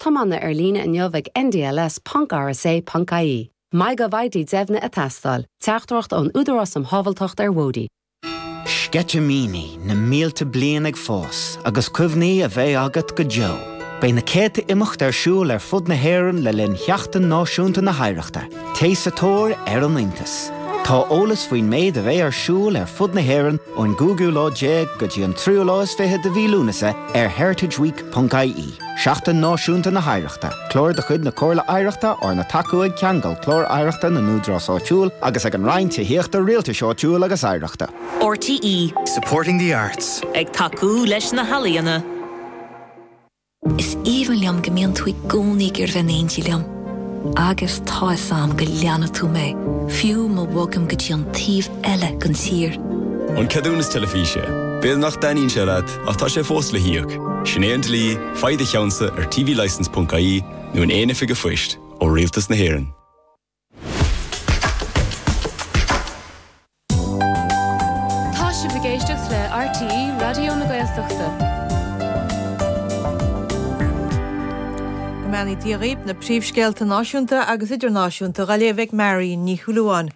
tiomána ar líne inniu ag ndls.rsa.ie. MyGovID deimhnithe ag teastáil. Teachtaireacht ón Údarás um Shábháilteacht ar Bhóithre. Sceitimíní na mílte bliain ag fás agus cuimhní a bheidh agat go deo. Beidh na céadta imeacht ar siúl ar fud na hÉireann le linn Sheachtain Náisiúnta na hOidhreachta. Téigh sa tóir ar an iontas! Tá eolas faoin méid a bheidh ar siúl ar fud na hÉireann ón gcúigiú lá déag go dtí an tríú lá is fiche de mhí Lúnasa ar heritageweek.ie. Seachtain Náisiúnta na hOidhreachta, clár de chuid na Comhairle Oidhreachta arna tacú ag Ceangal Clár Oidhreachta na nÚdarás Áitiúil agus ag an Roinn Tithíochta, Rialtais Áitiúil agus Oidhreachta. RTÉ. Supporting the arts. Ag tacú leis na healaíona. Is aoibhinn liom go mbíonn tú i gcónaí ag iarraidh bheith in éindí liom. Agus tá 'fhios a'm go leanfaidh tú mé, fiú má bhogaim go dtí an taobh eile den tír. An ceadúnas teilifíse. B'fhéidir nach dtaitníonn sé leat, ach tá sé fós le híoc. Sin é an dlí, faigh do cheannsa ar tvlicence.ie nó in aon oifig an phoist ó Rialtas na hÉireann. Tá sibh ag éisteacht le RTÉ Raidió na Gaeltachta. Go mbeannaí Dia dhaoibh, na príomhscéalta náisiúnta agus idirnáisiúnta dhá léamh ag Marion Ní Shúilleabháin.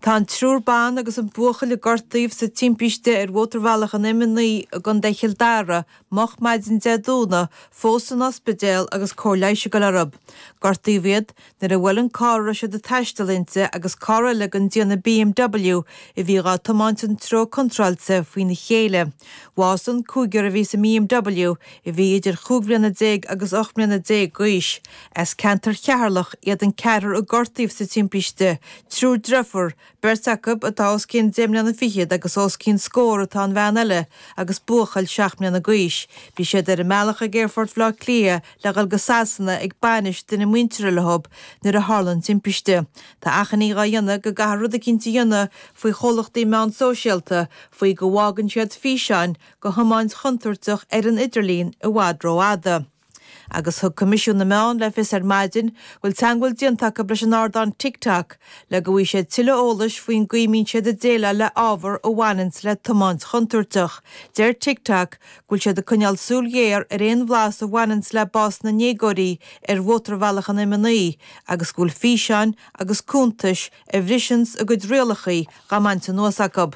Tá an triúr ban agus an buachaill a gortaíodh sa timpiste ar mhótarbhealach an M9 i gContae Chill Dara moch maidin Dé Domhnaigh fós san ospidéal agus cóir leighis ag dul orthu. Gortaíodh iad nuair a bhuail an carr a raibh siad ag taisteal inti agus carr eile den déanamh BMW a bhí dhá tiomáint an treo contráilte faoina chéile. Bhásaigh an cúigear a bhí sa mBMW a bhí idir chúig bhliana déag agus 18 mbliana d'aois. As ceantar Cheatharlach iad an ceathrar a gortaíodh sa timpiste, triúr driofúr, beirt acu atá os cionn deich mbliana fichead agus os cionn scór atá an bhean eile agus buachaill seacht mbliana d'aois. Bhí siad ar a mbealach ag Aerfort Bhaile Átha Cliath le dhul go Sasana ag bainis duine muinteartha leo nuair a tharla an timpiste. Tá achainí dhá dhéanamh go gcaithfear rud eicínt a dhéanamh faoi chomhlachtaí meán sóisialta faoi go bhfágann siad físeáin de thiomáint chontúirteach ar an idirlíon i bhfad rófhada. Agus thug Coimisiún na Meán le fios ar maidin go bhfuil teagmháil déanta acu leis an ardán TikTok le go bhfaighidh siad tuilleadh eolais faoin gcaoi a mbíonn siad ag déileáil le ábhar a bhaineanns le tiomáint chontúirteach. Deir TikTok go bhfuil siad ag coinneáil súil ghéar ar aon bhlas a bhaineanns le bás na ndéagóirí ar mhótarbhealach an M9 agus go bhfuil físeáin agus cuntais a bhriseanns a gcuid rialacha dhá mbaint anuas acu.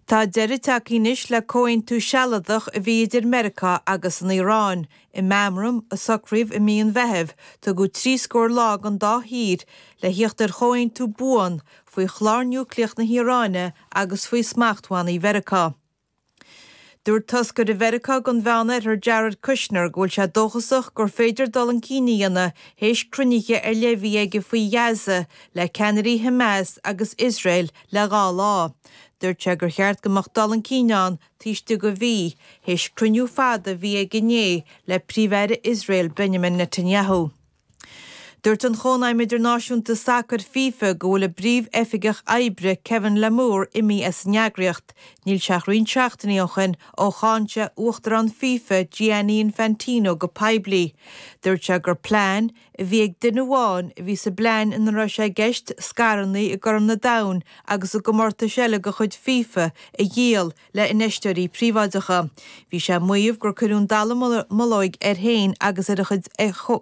Tá deireadh tagtha anois le comhaontú sealadach a bhí idir Meiriceá agus an Iaráin. I meamram a socraíodh i mí an Mheithimh, tugadh trí scór lá don dá thír le thíocht ar chomhaontú buan faoi chlár núicléach na hIaráine agus faoi smachtbhannaí Mheiriceá. Dúirt toscaire Mheiriceá don Mheánoirthear Jared Kushner go bhfuil sé dóchasach gur féidir dul chun cinn a dhéanamh théis cruinnithe ar leith a bhí aige faoi Ghaza le ceannairí Hamas agus Iosrael le dhá lá. Dúirt sé gur cheart go mbeadh dul chun cinn ann taobh istigh de mhí, théis cruinniú fada a bhí aige inné le Príomh-Aire Iosrael Benjamin Netanyahu. Dúirt an Chónaidhm Idirnáisiúnta Sacair, FIFA, go bhfuil a bPríomh-Oifigeach Oibre, Kevin Lamour, imithe as an eagraíocht. Níl sé ach roinnt seachtainí ó shin ó cháin sé Uachtarán FIFA, Gianni Infantino, go poiblí. Dúirt sé gur plean a bhí ag duine amháin a bhí sa bplean ina raibh sé i gceist scaireanna i gCorn an Domhain agus i gcomórtais eile de chuid FIFA a dhíol le infheisteoirí príobháideacha. Bhí sé ag maíomh gur cuireadh an dallamullóig air féin agus ar a chuid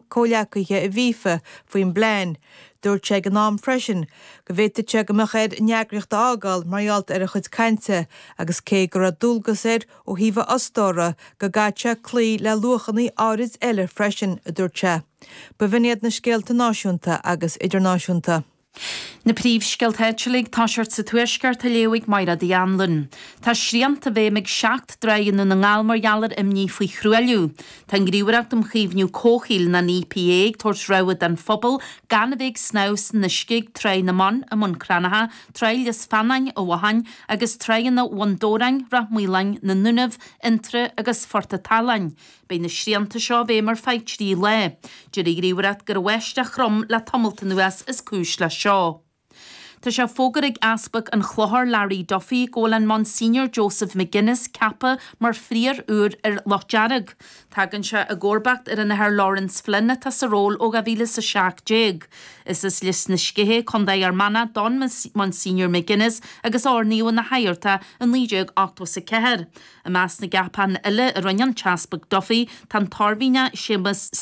comhleacaithe i bhFifa faoin bplean. Dúirt sé ag an am freisin go bhféadfadh sé go mbeadh air an eagraíocht a fhágáil mar gheall ar a chuid cainte agus cé go raibh dualgas air ó thaobh a fhostóra go gcaithfeadh sé cloí le luachanna áirid eile freisin, a dúirt sé. B'in iad na scéalta náisiúnta agus idirnáisiúnta. Na príomhscéalta áitiúla ag toiseacht sa Tuaisceart á léamh ag Mairéad Uí Anluain. Tá srianta i bhfeidhm ag 7 dtráigh i nDún na nGall mar gheall ar imní faoi thruailliú. Tá an Ghníomhaireacht um Chaomhnú Comhshaoil, nó an EPA, ag tabhairt rabhadh don phobal gan a bheith ag snámh san uisce ag Tráigh na mBan i mBun Cranncha, Tráigh Lios Feannáin i bhFothain agus tráigheanna Bhun Dobhráin, Ráth Maoláin, na nDúnaibh, Fhionntrá agus Phort a' tSalann. Beidh na srianta seo i bhfeidhm ar feadh 3 lá. Deir an Ghníomhaireacht gur an bháisteach throm le tamalt anuas is cúis leis seo. Tá sé fógartha ag Easpag an Chlochair Larry Duffy go bhfuil an Monsignor Joseph McGuinness ceaptha mar phrióir úr ar Loch Dearg. Tagann sé i gcomharbacht ar an Athair Laurence Flynn atá sa ról ó 2017. Is as Lios na Sceiche, Co. Fhear Manach don Monsignor McGuinness agus a oirníodh ina shagart é i 1984. I measc na gceapachán eile a rinne an tEaspag Duffy tá an tOirmhinneach Séamus.